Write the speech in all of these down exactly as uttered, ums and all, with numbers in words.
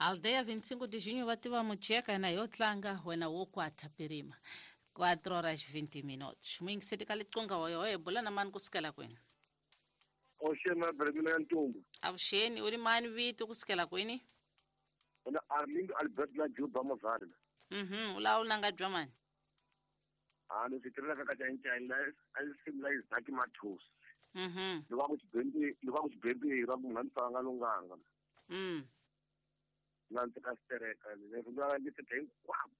Aldeia vinte e cinco de junho va tiva mucheka na yo tlanga wena wo kwata pirima. quatro horas vinte minutos. Muyingiseti ka liqunga hoyo hoyo bula na mani kusukela kwini? Oxeni na Bremina ya Ntumbu. Avuxeni, u ri mani vito kusukela kwini? Mina Arlindo Albert la Juba Mozarna. Mhm, u lawula nga bya mani? Ah, ni swi ka ka China la a simla Isaac Mathus. Mhm. Loko ku xibembi, loko ku xibembi ra ku nga ni lunganga. Mm. Na ndzi ka stereka le ri nga ndzi tithe hinkwako.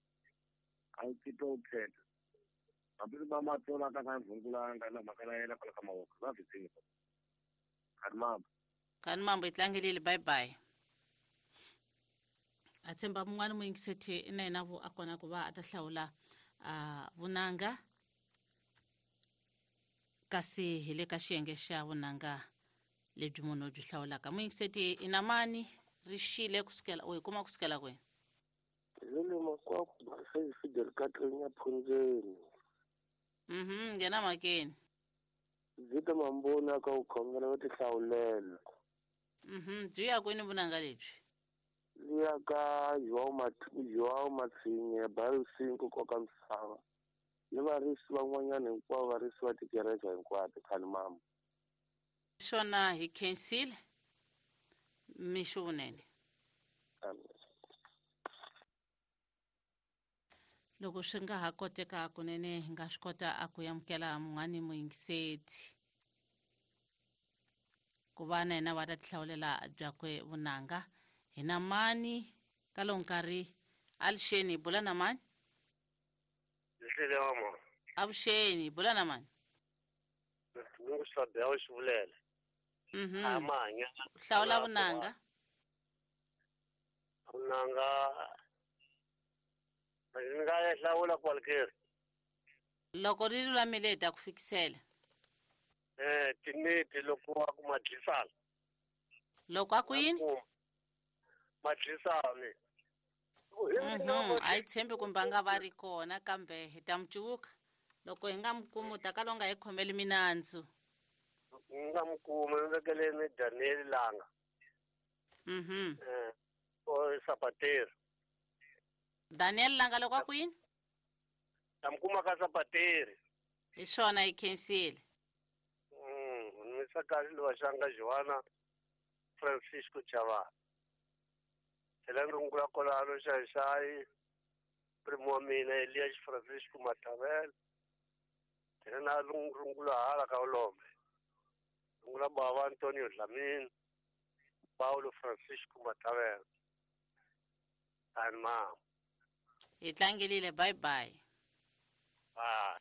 A ndzi to khetha. Hambi va matsola ka ka vhungulanga na mhaka na yena kwala ka mavoko va swi tiva. Kani mambo. Kani mambo i tlangelile, bye bye. A tshemba mun'wana muyingiseti na yena vo a kona ku va a ta hlawula a vunanga kasi hi le ka xiyenge xa vunanga lebyi munhu byi hlawulaka. Muyingiseti i na mani ri xile kusukela u yi kuma kusukela kwini? Lele makwako Marcel Fidel Katlenya Phunzeni. Mhm, nghena makeni. Zita mambona ka u khongela va tihlawulela. Mhm, byi ya kwini vunanga lebyi? Liya ka João João Matsinye Bairro cinco koka misava. Ni varisi van'wanyana hinkwavo varisi va tikereke hinkwato khani mama. Swona hi khensile mixo vunene. Amen. Loko swi nga ha koteka kunene hi nga swi kota a ku amukela mun'wani muyingiseti ku va na yena va ta tihlawulela byakwe vunanga. Hi na mani ka lowu nkarhi alixeni bula na mani? Avuxeni, bula na mani? Mhm. Hlawula vunanga. Vunanga ni nga ya hlawula kwalekeri. Loko ri lulamile hi ta ku fikisela. Eh, tineti loko wa ku madlisana. Loko a ku yini? Madlisana. Mhm, a yi tshembi kumbe a nga va ri kona kambe hi ta mi cuvuka. Loko hi nga mi kumi u ta kala u nga hi khomeli minandzu. Ni nga mi kumi, ni vekeleni Daniel Langa. Mhm. Eh, o Sapateri. Daniel Langa loko a ku yini? Ta mi kuma ka Sapateri. Hi swona hi khensile. Mm, ni misa kahle Lovaxanga Joana Francisco Chavana. Tlhela ni rungula kwalano Xaxayi primo wa mina Elias Francisco Matavela. Tlhela na rungula hala ka Ulombe. Rungula bava Antonio Dlamini, Paulo Francisco Matavela. And mama. Hi tlangelile, bye bye. Bye.